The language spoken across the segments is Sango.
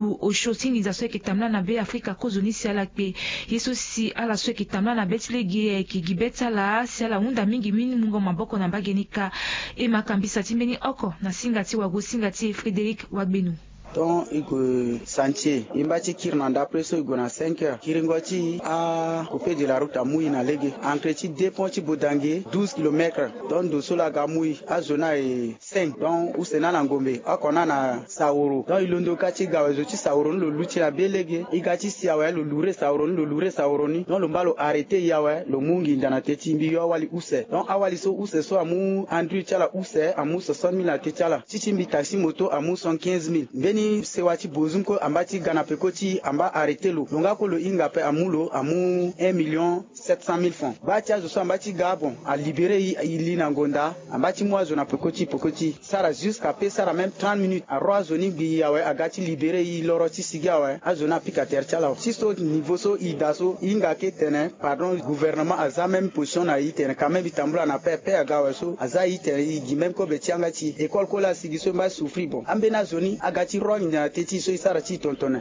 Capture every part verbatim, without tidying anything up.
Osio ti nginza so ayeke tambula na Be Afrika kozoni si ala kpe. Ye so si ala so ayeke tambula na be ti lege ayeke gi be ti ala si ala hunda mingi mingi mungo maboko na mbage ni kâ. E ma kambisa ti mbeni oko na singa ti wago singa ti e Frédéric Wagbenu. Donc e gue chantier, e mba ti kiri na ndapre so e gue na cinq heures. Kiringo ti e, acoupé de la route amu e na lege. Entrée ti deux ponts ti Bodange, douze kilomètres. Donc ndo so laa aga amu e, azo ni aye cinq. Donc use ni ana ngombe, oko ni ana saoro. Donc e londo ka ti e ga awe, zo ti saoro ni lo luti na be lege. E ga ti si awe, lo lourd saoro ni, lo lourd saoro ni. Donc lo mba lo arrêté e awe, lo mu nginza na te ti e, mbi yo awali use. Donc awali so use so amu andri ti ala use, amu soixante mille na te ti ala. Ti ti mbi taxi moto amu cent quinze mille. Mbeni sewa ti Bozum kue amba ti ga na peko ti e, amba arrêté lo. Lo nga kue lo hinga ape, amu lo, amu un million sept cent mille francs. Baa ti azo so amba ti ga, bon, alibéré e, e li na ngonda, amba ti mu azo na peko ti e, peko ti e. Sara jusqu'à pe sara même trente minutes. Aro azo ni gbi e awe, aga ti libéré e loro ti sigi awe. Azo ni apika tere ti ala. Ti so niveau so e daa so, e hinga ke tene, pardon, gouvernement aza même position na e tene, quand même e tambula na pe, pe aga awe so, aza e tene, e gi même kobe ti yanga ti e. École kue laa asigi so e mba souffrir, bon. Ambeni azo ni aga ti ro anginza na te ti e so e sara ti e tonton ni.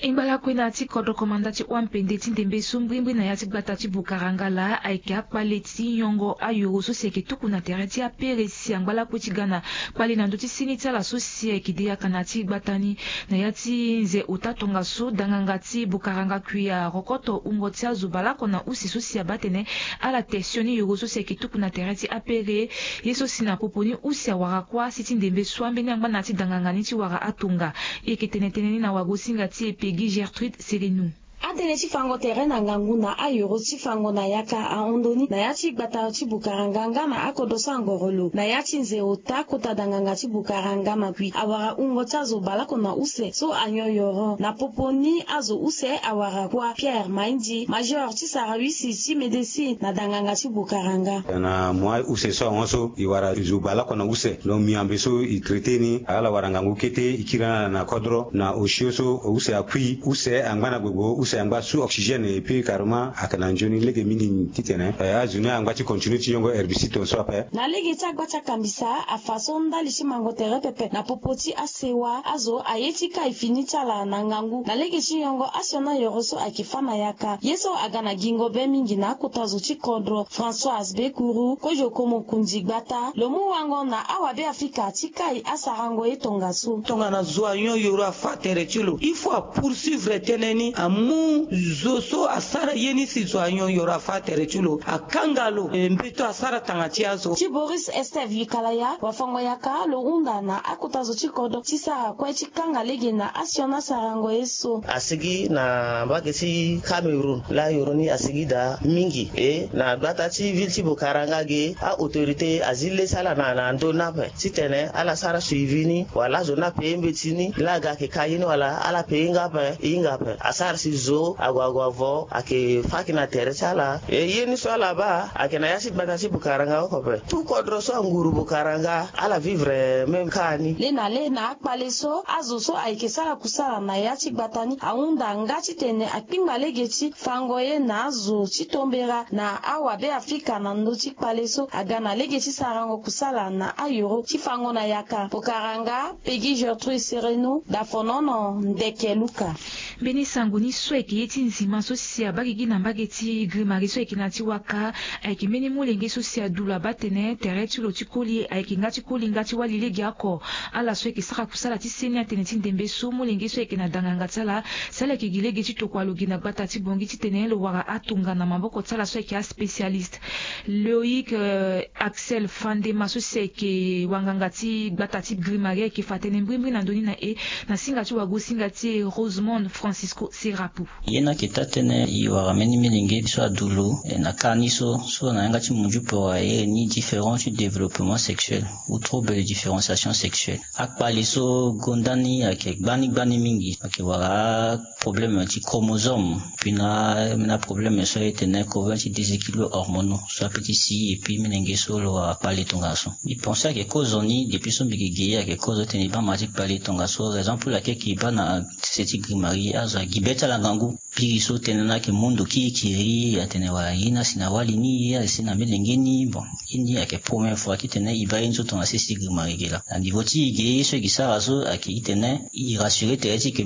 E ngba lakue na ya ti kodro komanda ti O M P N D ti ndembe so mbrimbri na ya ti gbata ti Bukaranga laa ayeke akpale ti nyongo ayoro so si ayeke tuku na tere ti apere si angba lakue ti ga na kpale na ndö ti seni ti ala so si ayeke de yaka na ya ti gbata ni. Na ya ti nze ota tongaso, danganga ti Bukaranga kui arokoto wungo ti azo baleoko na use so si abaa atene ala te sioni yoro so si ayeke tuku na tere ti apere. Ye so si na popo ni use awara kuâ si ti ndembe so ambeni angba na ya ti danganga ni ti wara atonga. E yeke tene tënë ni na wago-singa ti e Peggy Gertrude Serenu. Atënë ti fango tere na ngangu na ayoro ti fango na yaka ahon ndoni na ya ti gbata ti Bukaranga nga na akodro so angoro lo na ya ti nze ota kota danganga ti Bukaranga na kui awara wungo ti azo baleoko na use so anyon yoro. Na popo ni azo use awara kuâ. Pierre Mainzi, major ti sarawisi ti médecine na danganga ti Bukaranga. Na moi use so ahon so e wara zo baleoko na use. Donc miambe so e traité ni, ala wara ngangu kete, e kiri na ala na kodro. Na osio so use akui, use angba na gbogbo, use angba sous oxygène, et puis carrément ayeke na nzoni lege mingi titene, eh, azo ni angba ti continuer ti yongo herbicide tongaso ape. Na lege ti agba ti akambisa afa so ndali ti mango tere pepe na popo ti asewa azo aye ti kai fini ti ala na ngangu na lege ti yongo asioni ayoro so ayeke fâ na yaka. Ye so aga na gingo be mingi na akota zo ti kodro, Françoise Bekuru, kozo ko mokonzi gbata, lo mu wango na awabe Afrika ti kai asarango ye tongaso. Tongana zo anyon yoro afâ tere ti lo, il faut apoursuivre tënë ni, amu zo so asara ye ni si zo anyon yoro afâ tere ti lo, akanga lo, eh, mbeto asara tanga ti azo. Ti Boris Estève Yikalaya, wafango-yaka lo hunda na akota zo ti kodro ti sara kue ti kanga lege na asioni asarango ye so. Asigi na mbage ti Cameroun laa yoro ni asigi daa mingi. E na gbata ti ville ti Bukaranga ge, a-autorité azi le ti ala na, na ndö ni ape titene ala sara suivi ni, wala azo ni apaye mbeti ni, laa aga ayeke ka ye ni wala ala paye hinga ape, e hinga ape. Asara si zo ague ague avo ayeke fâ ki na tere ti ala. E ye ni so ala baa ayeke na ya ti gbata ti Bukaranga oko ape. Tout kodro so anguru Bukaranga ala vivre même ka ni. Le na le na akpale so azo so ayeke sara kusala na ya ti gbata ni ahunda nga titene akpingba lege ti fango ye na azo ti tombera na awabe Afrika na ndö ti kpale so aga na lege ti sarango kusala na ayoro ti fango na yaka. Bukaranga, Peggy Gertrude Sereno, Dafonono, Ndeke Luka. Mbeni sango ni so ayeke ye ti nzima so si abaa gigi na mbage ti Grimari so ayeke na ya ti Waka, ayeke mbeni molenge so si adu lo abaa atene tere ti lo ti koli ayeke nga ti koli nga ti wali legeoko. Ala so ayeke sara kusala ti seni atene ti ndembe so molenge so ayeke na danganga ti ala si ala yeke gi lege ti tokua lo gi na gbata ti Bongi titene lo wara atonga na maboko ti ala so ayeke aspécialiste. Loïc, euh, Axel Fandema so si ayeke wanganga ti gbata ti Grimari ayeke fa tënë mbrimbri na ndö ni na e na singa ti wago-singa ti e Rosemond Francisco Serapo. Ye ni ayeke taa tënë e wara mbeni milenge so adu lo, eh, na ka ni so, so na yanga ti munju poro aye ni différent ti développement sexuel ou trouble de différenciation sexuelle. Akpale so gonda ni ayeke gbani gbani mingi, ayeke wara problème ti chromosome, puis na, na problème so e tene koven ti déséquilibre hormonaux so ape ti si, et puis milenge so lo wara kpale tongaso. Mbi pense ayeke kozo ni depuis so mbi yeke ge, ayeke kozo titene e baa ma ti kpale tongaso, raison pour laquelle e baa na Seti grimari azo agi be ti ala ngangu. Biri so tënë na ayeke mu ndo kiri kiri atene wala ye ni asi na wali ni ye asi na melenge ni bon. Ye ni ayeke première fois titene e baa ye nzoto na seti grimari ge laa na niveau ti e ge ye so e gi sara so ayeke titene e rassure tere ti e ke